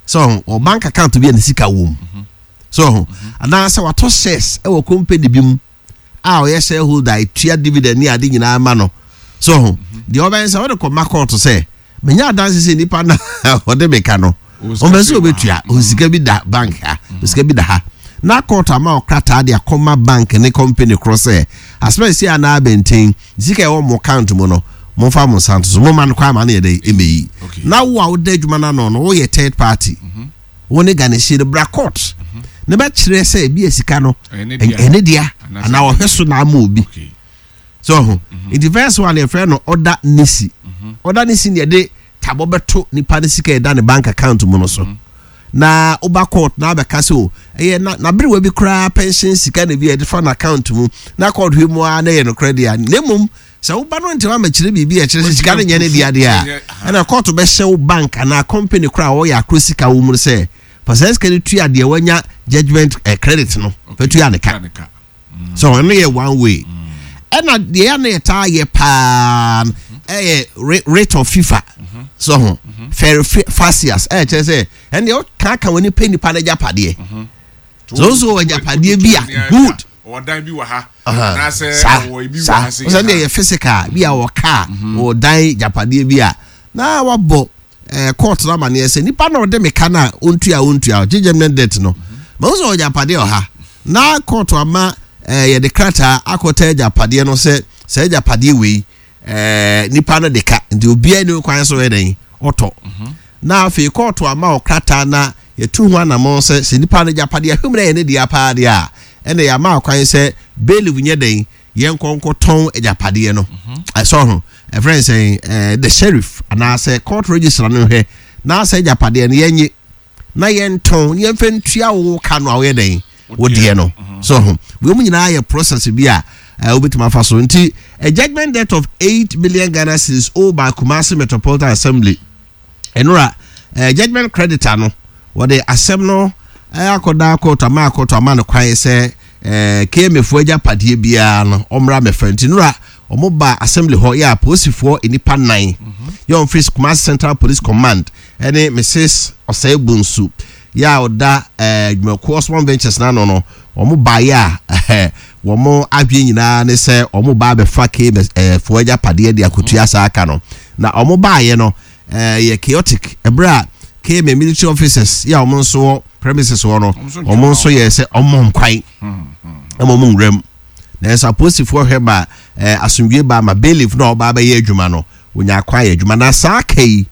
So ɔ bank account bi a ne sika wɔ mu so ho, anaasɛ watɔ shares ɛwɔ company bi mu a ɔyɛ shareholder, etua dividend ne ade nyinaa ma no so ho deɛ, ɔbɛn sɛ ɔde kɔ ma court sɛ menya adanse sɛ nipa na ɔde mi ka no, ɔbɛn sɛ ɔbɛtua osika bi da bank ha, osika bi da ha, na court ama ɔkrataa de akɔma bank ne company korɔ sɛ asoma esi anaa abɛnten sika ɛwɔ mo account mu no, momfa mo nsa nto so, mo ma no kwan ma no yɛ dɛ ɛmɛyi. Na wo a woda adwuma no ano no, woyɛ third party, wo ne garnishee no bra court ne bɛkyerɛ sɛ ebi yɛ sika no ɛne dea anaa ɔhwɛ so na ama obi so ho. Nti first one yɛfrɛ no order nisi. Order nisi ne yɛde tabɔ bɛto nipa ne sika ɛda ne bank account mu no so, na woba court na abɛka sɛ o ɛyɛ na n'aberewa bi koraa pension sika na bi a yɛde fa n'account mu, na court hwɛ mu ara na ɛyɛ nokorɛ deɛ. Na mmom sɛ woba no ntɛm amakyerɛ biribi a ɛkyerɛ sɛ sika no nyɛ ne dea deɛ a, ɛna court bɛhyɛ wo bank anaa company koraa a wɔyɛ akoro sika wɔ mu no sɛ fa saa sika no tua deɛ wanya judgement credit no, fa tua ne ka. So ɛno yɛ one way. Ɛna deɛ yɛ na yɛtaa yɛ paa ɛyɛ writ of fifa so ho, ferɛ facias, ɛyɛ kyerɛ sɛ ɛn deɛ ɔka ka wɔn nipa nipa no agyapadeɛ so nso wɔ agyapadeɛ bi a good. Ɔdan bi wɔ ha anaasɛ ɔwɔ ebi wɔ ha sɛ deɛ yɛ physical bi a wɔ car, wɔ dan, agyapadeɛ bi a na wabɔ court no amaneɛ sɛ nipa na ɔde me ka na ontua ontua ɔgye judgement debt no ma nso ɔgyapadeɛ ɔha, na court ama yɛde krataa akɔtɛ agyapadeɛ no sɛ sɛ agyapadeɛ wei nipa no de ka, nti obiara ni kwan so yɛ dɛn ɔtɔ. Na afei court ama ɔkrataa na yɛtu ho anammɔn sɛ sɛ nipa no agyapadeɛ ahwɛ mu na yɛ ne deɛ paa deɛ a, ɛna yɛama kwan sɛ bailiff nyɛ dɛn yɛn nkɔnkɔtɔn agyapadeɛ no. Ɛsɔ ho ɛfrɛ sɛn the sheriff anaasɛ court registrar no hwɛ na sɛ agyapadeɛ no yɛnye na yɛntɔn yɛmfa ntua wo ka no a woyɛ dɛn wo deɛ no so ho. Wei mu nyinaa yɛ process bi a wobɛtumi afa so. Nti a judgment debt of 8 million Ghana cedis owed by Kumasi Metropolitan Assembly, ɛnora judgment creditor no wɔde asɛm no akɔda court ama court ama no kwan sɛ KMA foɔ agyapadeɛ biara no ɔmmra mɛfa. Nti nora wɔn ba assembly hɔ yɛ apolisifoɔ nnipa nnan yɛ wɔn firi Kumasi Central Police Command ɛne Mrs Ɔsɛe Bonsu yɛ a ɔda dwumakuo Osman Ventures n'ano no. Wɔn baeɛ a wɔn adwene nyinaa ne sɛ wɔn ba abɛfa KMA foɔ agyapadeɛ de akotua saa aka no. Na wɔn baeɛ no yɛ chaotic ɛberɛ a KMA military officers yɛ a wɔn nso wɔ premises hɔ no, wɔn nso yɛ sɛ wɔn kwan ɛma wɔn nwura mu. Nanso apolisifoɔ hwɛ ma asomdwe ba ma bailiff na ɔba abɛyɛ adwuma no wonya akwan yɛ adwuma. Na saa aka yi,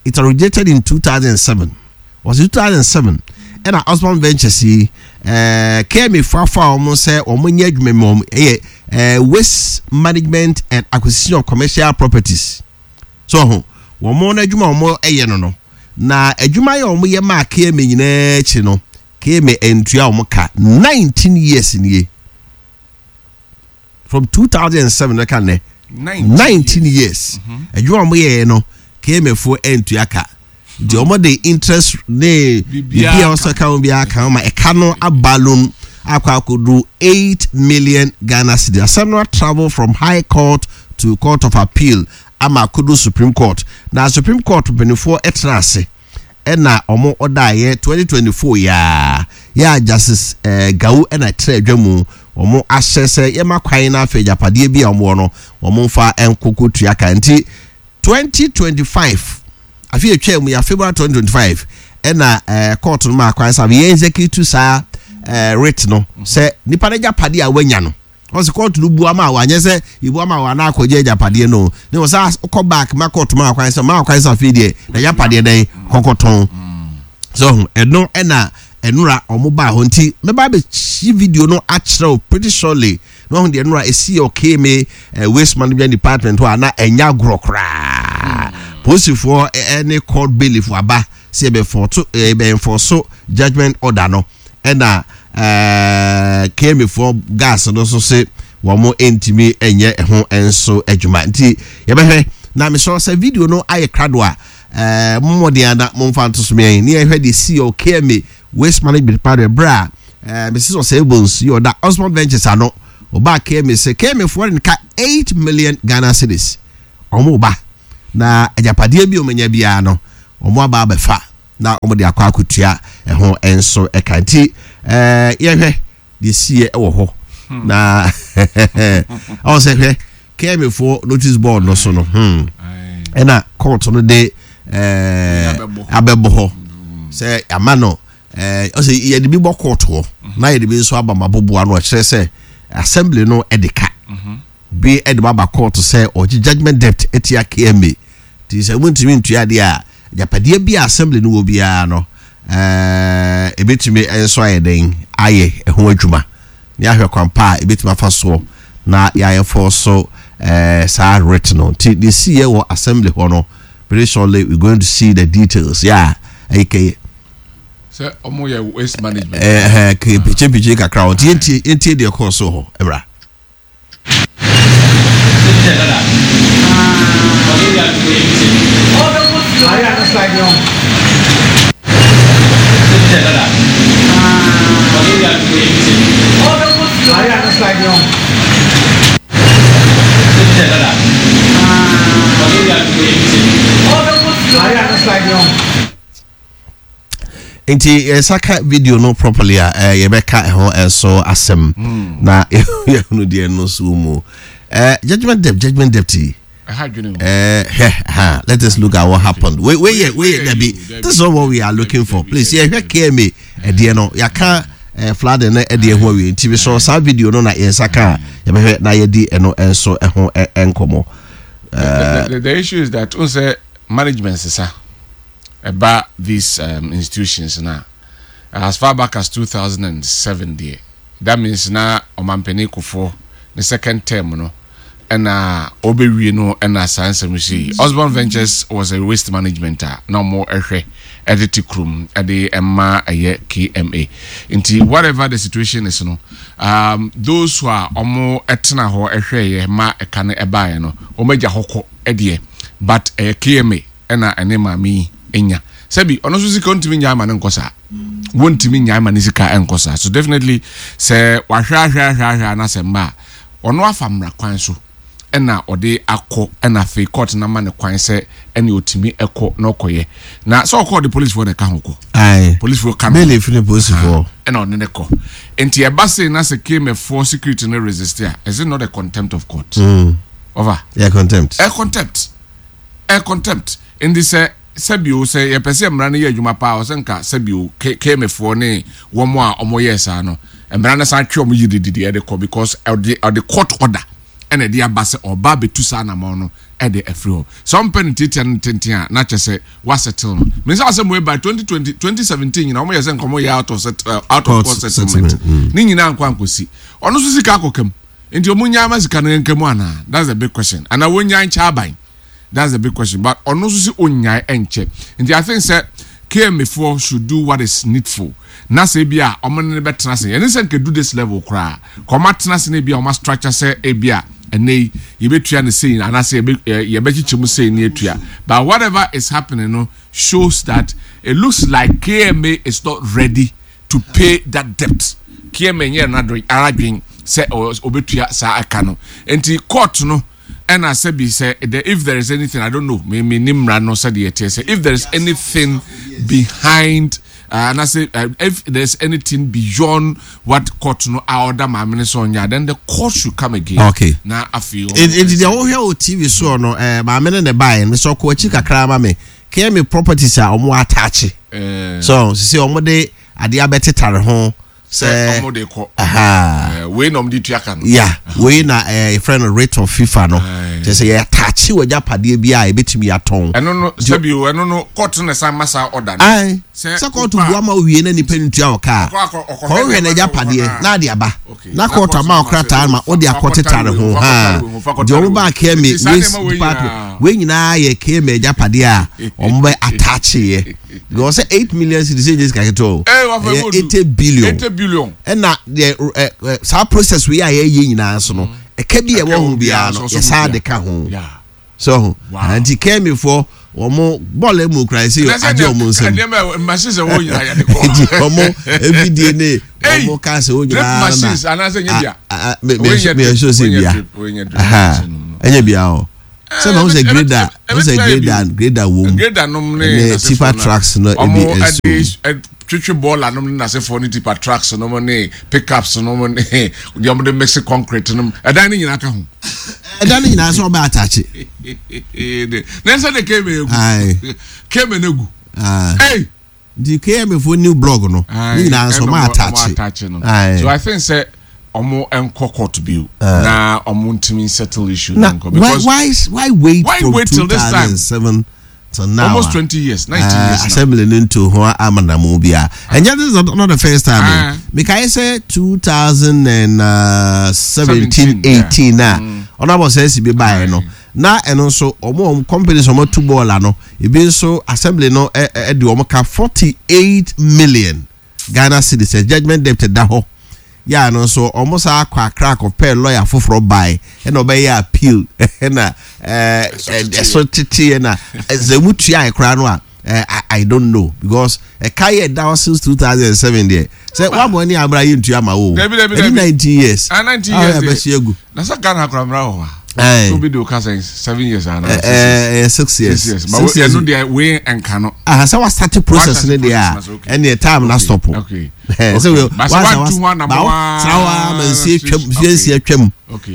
it originated in 2007, was 2007 ɛna Osman Ventures yi KMA fafa wɔn sɛ wɔn nyɛ adwuma mu. Wɔn ɛyɛ waste management and acquisition of commercial properties so ho. Wɔn no adwuma wɔn ɛyɛ no, na adwuma yɛ wɔn yɛ maa KMA nyinaa akyi no, KMA ntua wɔn ka 19 years nie, from 2007 ɛka nnɛ 19 years. Adwuma wɔn yɛɛ no, KMA foɔ ntua ka, nti wɔn de interest ne biribi a wɔsɛ ka ho biara ka ho ma ɛka no aba loan akɔ akɔdu 8 million Ghana cedis. Asɛm no travel from High Court to Court of Appeal ama akɔdu Supreme Court, na Supreme Court mpanimfoɔ tena ase ɛna wɔn ɔdaeɛ 2024 yaa yɛ a Justice Gawu ɛna ɛtena adwa mu. Wɔn ahyɛ sɛ yɛma kwan na afei agyapadeɛ bi a wɔn wɔ no wɔn mfa nkoko tua ka. Nti 2025 afei atwa mu ya February 2025 ɛna court no maa kwan sɛ yɛn execute saa writ no sɛ nipa no agyapadeɛ a wanya no. Ɔsɛ court no bu ama wa, anyɛ sɛ ebu ama wa na akɔgye agyapadeɛ no ne wɔ sɛ kɔ back ma court ma kwan sɛ ma kwan sɛ afei deɛ na agyapadeɛ dɛn kɔkɔtɔn so ɛno. Ɛna ɛnora ɔmo baa hɔ, nti mɛba abɛkyi video no akyerɛw pretty surely na ɔho deɛ ɛnora esi yɛ ɔkeme waste management department hɔ a na ɛnya agorɔ koraa. Polisifoɔ ɛne court bailiff aba sɛ yɛbɛfɔto yɛbɛnfɔso judgement order no, ɛna KMA foɔ guards no nso se wɔn ntumi nyɛ ɛho nso adwuma. Nti yɛbɛhwɛ na mesrɛ sɛ video no ayɛ krado a, mommɔden ana momfa nto so meɛn ne yɛhwɛ deɛ si yɛ KMA waste management department berɛ a Mrs Osei Bonsu yɛ ɔda Osmond Ventures ano ɔbaa KMA sɛ KMA foɔ de ka 8 million Ghana cedis. Wɔn ba na agyapadeɛ bi a wɔn anya biara no wɔn aba abɛfa. na wɔn de akɔ akɔtua ɛho nso ɛka. Nti yɛhwɛ deɛ siiɛ wɔ hɔ na ɔwɔ sɛ hwɛ KMA foɔ notice board no so no ɛna court no de abɛbɔ hɔ sɛ ama no ɔsɛ yɛde bi bɔ court hɔ na yɛde bi nso aba ma boboa no, ɔkyerɛ sɛ assembly no ɛde ka bi ɛde ba court sɛ ɔgye judgement debt ɛtia KMA. Nti sɛ wontumi ntua adeɛ a, agyapadeɛ bi a assembly no wɔ biara no ebetumi nso ayɛ den ayɛ ɛho adwuma ne ahwɛ kwan pa a ebetumi afa soɔ na yɛayɛ fɔ so saa writ no. Nti deɛ si yɛ wɔ assembly hɔ no, very shortly we going to see the details. Yeah, ɛyɛ kɛyɛ sɛ ɔmo yɛ waste management. Ɛɛ kɛyɛ pikyepikye kakra hɔ. Nti yɛntie deɛ ɛkɔɔ so hɔ ɛbra. Nti yɛnsa ka video no properly a, yɛbɛka ɛho nso asɛm na yɛhunu deɛ no so mu. Judgment debt, judgment debt yi. Hwɛ ha, let us look at what happened. Wei wei yɛ wei yɛ dabi, this is not what we are looking for. Please, yɛhwɛ KMA ɛdeɛ no, yɛaka flooding no ɛdeɛ ho awie. Nti mesɔ saa video no na yɛnsa ka a, yɛbɛhwɛ na yɛdi ɛno nso ɛho nkɔmmɔ. The issue is that n sɛ management sisa ɛba these institutions na as far back as 2007 deɛ, that means na ɔmampanin Kufuor ne second term no ɛna ɔbɛwie no ɛna saa nsɛm si. Osborn Ventures was a waste management a na ɔmo ɛhwɛ ɛde te kurom ɛde ɛma ɛyɛ KMA. Nti whatever the situation is no, those who are ɔmo ɛtena hɔ ɛhwɛ yɛ ma ɛka no ɛbaeɛ no, ɔmo agya hɔ kɔ ɛdeɛ, but ɛyɛ KMA ɛna ɛne maame yi enya sɛbi ɔno nso sika ntumi nya ama ne nkɔ saa, wɔntumi nya ama ne sika nkɔ saa. So definitely sɛ wahwɛ ahwɛ ahwɛ ahwɛ anasɛ mma a ɔno afa mmara kwan so ɛna ɔde akɔ, ɛna afei court na ma ne kwan sɛ ɛne ɔtumi ɛkɔ na ɔkɔyɛ na sɛ ɔkɔ, ɔde policefoɔ na ɛka ho kɔ. Policefoɔ ka no. Bailiff ne polisifoɔ. Ɛna ɔne ne kɔ. Nti ɛba sei na sɛ KMA security no resist a, is it not a contempt of court? Over. Yeah, contempt. Ɛ contempt, ɛ contempt. Nti sɛ sɛbio sɛ yɛpɛ sɛ mmara no yɛ adwuma paa, ɔsɛ nka sɛbio KMA ne wɔn a wɔyɛɛ saa no, mmara no san twe wɔn yidididi ɛde kɔ, because ɔde court order ɛna ɛde aba sɛ ɔba abɛtu saa anamɔ no ɛde afiri hɔ. Sɛ ɔmpɛ no tiatia no tenten a, na kyɛ sɛ wasettle no. Mensa asɛm wei by 2020 2017 nyina wɔn yɛ sɛ nkɔmɔ yɛ out of court settlement ne nyinaa nkɔ ankɔsi. Ɔno nso sika akɔkam nti ɔmo nyaa ma sika no nka mu anaa? That's the big question. Anaa wɔnyaa nkyɛ aban? That's the big question. But ɔno nso si onyae nkyɛ. Nti I think sɛ KMA foɔ should do what is needful na sɛ ebi a ɔmo ne no bɛtena ase, ɛne sɛ nka do this level koraa ka ɔmo atena ase na ebi a ɔmo structure sɛ ebi a ɛnɛ yi yɛbɛtua no sei anaasɛ yɛbɛkyekyɛ mu sei ne atua. But whatever is happening no shows that it looks like KMA is not ready to pay that debt. KMA nyɛ n'adwen aradwen sɛ ɔbɛtua saa ɛka no. Nti court no ɛna sɛbi sɛ the if there is anything, I don't know, me nim mmara no sɛdeɛ ɛteɛ, sɛ if there is anything behind and I say if there is anything beyond what court no a order maame no sɛ ɔnyɛ, then the court should come again. Na afei Nti deɛ wohwɛ wɔ TV soɔ no, maame no ne baeɛ no sɛ ɔkɔ akyi kakra ma me KMA properties a ɔmo ataakye so sisi ɔmo de adeɛ abɛtetare ho. Sɛ ɔmo de kɔ wei na ɔmo de tua ka no. Ya, wei na yɛfrɛ no writ of FIFA no, kyerɛ sɛ yɛataakye wɔ agyapadeɛ bi a yɛbɛtumi atɔn. Ɛno no sɛbi o, ɛno no court no san ma saa order no. Sɛ court bua ma owie na nipa no tua wɔ kaa kɔhwɛ n'agyapadeɛ na ade aba na court ama ɔkrataa ma ɔde akɔtetare ho ha deɛ ɔmo ba KMA waste department. Wei nyinaa yɛ KMA agyapadeɛ a ɔmo bɛ ataakyeeɛ because sɛ 8 million cedis ɛnyɛ sika ketewa o. Ɛyɛ 80 billion. 80 billion. Ɛna deɛ ɛ ɛ saa process wei a yɛyɛ nyinaa so no, ɛka bi a ɛwɔ ho biara no, yɛsaa de ka ho so ho. Nti KMA foɔ wɔn bɔɔl mu kura ɛsɛ agye wɔn nsam. Nneɛma machines ɛwɔ nyinaa yɛde kɔ. Nti wɔn efidie ne wɔn cars ɛwɔ nyinaa na machines anaasɛ nye bia. Mɛ mɛ sɛ bia ɛnyɛ bia o. Sɛ ma ho sɛ grader, ho sɛ grader, grader wɔ mu. Grader nom ne ne tipper trucks no ebi nso. Ɔmo twetwe bɔɔla nom ne n'asefoɔ ne tipper trucks nom ne pickups nom ne deɛ ɔmo de mix concrete nom ɛdan ne nyinaa ka ho. Ɛdan ne nyinaa sɛ ɔbɛ atakye. Na ɛsɛ de keme egu. Keme no egu. Hey. Nti KMA foɔ new blog no ne nyinaa nso ɔmo ataakye. No. So I think sɛ ɔmo nkɔ court bio na ɔmo ntumi settle issue no nkɔ because why why wait why from wait till this time 2007 till now almost 20 years 19 years now assembly no nto ho amanamu bia ɛnyɛ this is not the first time o mekae sɛ 2017 18 na ɔno abɔ sɛ ɛsi bi baeɛ no Na ɛno nso wɔn wɔn companies wɔn atu bɔɔla no ebi nso assembly no de wɔn ka 48 million Ghana cedis sɛ judgement debt da hɔ yɛ a no nso wɔn saa akɔ akra akɔpɛ lawyer foforɔ bae ɛna ɔbɛyɛ appeal ɛna ɛso tete ɛna sɛ mu tua koraa no a I, I don't know because ɛka yɛ da hɔ since 2007 deɛ sɛ wabɔ ne abira yɛ ntua ma wo ɛni 19 years ah 19 years a bɛhyɛ agu na sɛ Ghana akora mmara wɔ hɔ a so bi de o ka sɛ 7 years ana ɛɛ 6 years 6 years ɛno deɛ wei nka no ah sɛ wa start process ne deɛ a ɛne time na stop okay sɛ wei wasa wasa ba wa ma nsie twam nsie twam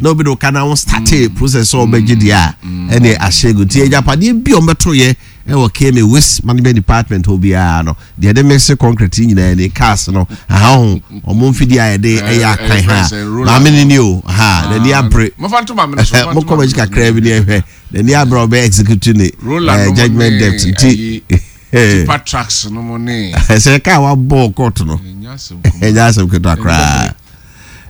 na obi de o ka na wo start process sɛ ɔbɛgye deɛ a ɛne ahyɛ gu nti agyapadeɛ bi a ɔmbɛto yɛ Ɛwɔ KMA waste management department hɔ biara no deɛ yɛde mix concrete yi nyinaa ni cars no aha ho wɔn mfidie a yɛde ɛyɛ akwan ha maame no ni o ha n'ani abere mokɔ m'akyi kakra bi ne ɛhwɛ n'ani abere a ɔbɛ execute ne judgement debt nti tipa trucks no mo ne sɛ kaa wabɔ court no ɛnyɛ asɛm ketewa koraa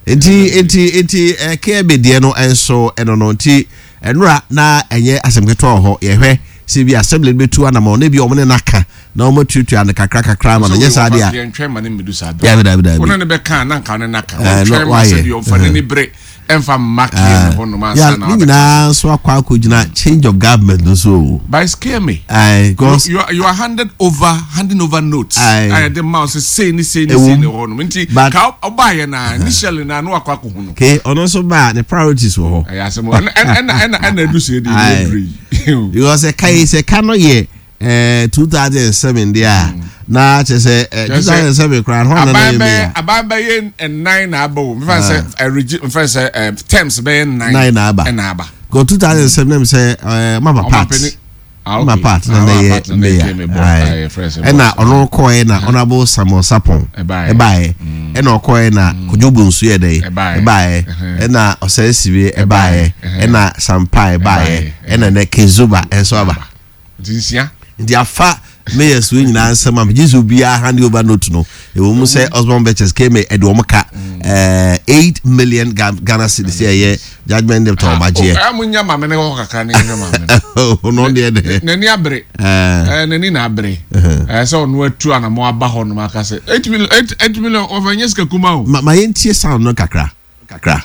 nti nti nti KMA deɛ no nso ɛno no nti Ɛnora na ɛnyɛ asɛm ketewa wɔ hɔ. Yɛhwɛ sɛ bi assembly no bɛtu anamɔn na ebi wɔn ne no aka na wɔn atuatua no kakra kakra ama no. Nyɛ saa deɛ a. Yɛntwɛn ma no mmedu saa bere. Dabi dabi dabi. Wɔn ne no bɛka a na nka ne no aka. Wɔntwɛn ma sɛ bi ɔmfa n'ani bere ɛmfa mma KMA hɔ nom ansa na Ne nyinaa nso akɔ akɔgyina change of government no so o. But it's KMA. Aye, because you, you, you are handed over handing over notes. Aye. A yɛde ma wo sɛ sei ne sei ne sei ne hɔ nom nti ka ɔbaayɛ na initially na ano akɔ akɔhu no. Ke ɔno nso ba ne priorities wɔ hɔ. Ɛyɛ asɛm ɛna ɛna ɛna ɛna edu sɛ ɛdi ɛdi ebire yi. Because ɛka yi sɛ ɛka no yɛ ɛɛ 2007 deɛ a mm. na kyerɛ sɛ ɛɛ 2007 koraa hɔn na na yɛ meya. Aban bɛyɛ nnan na aba o nfa sɛ ɛregi nfa sɛ ɛɛ terms bɛyɛ nnan. Nnan na aba. Ɛna aba. Because 2007 na mi sɛ ɛɛ mama part. Ah, ma part na na yɛ mayor ɛna ɔno kɔɛ na honourable Samuel Sapon ɛbaeɛ mm. ɛna ɔkɔɛ na mm. Kojo Bonsu yɛ dɛ ɛbaeɛ ɛna Ɔsɛe Sibe ɛbaeɛ ɛna Sampa ɛbaeɛ ɛna nɛ Kezuba ɛnso aba nti afa mayors wei nyinaa nsɛm a megye sɛ obiara hand over note no ɛwɔ mu sɛ Osborn Ventures kma ɛde wɔn ka mm. eh, 8 million Ghana cedis ɛyɛ judgement debt a wɔn agyeɛ. Ɔyà mo nya maame ne hɔ kakra ne nhwɛ maame no. Ɔno deɛ dɛ. N'ani abere. Ɛɛ n'ani na abere. Ɛɛ sɛ ɔno atu anamɔ aba hɔ nom aka sɛ 8 million 8 million ɔfɛ nyɛ sika kuma o. Ma ma yɛn tie sound no kakra kakra.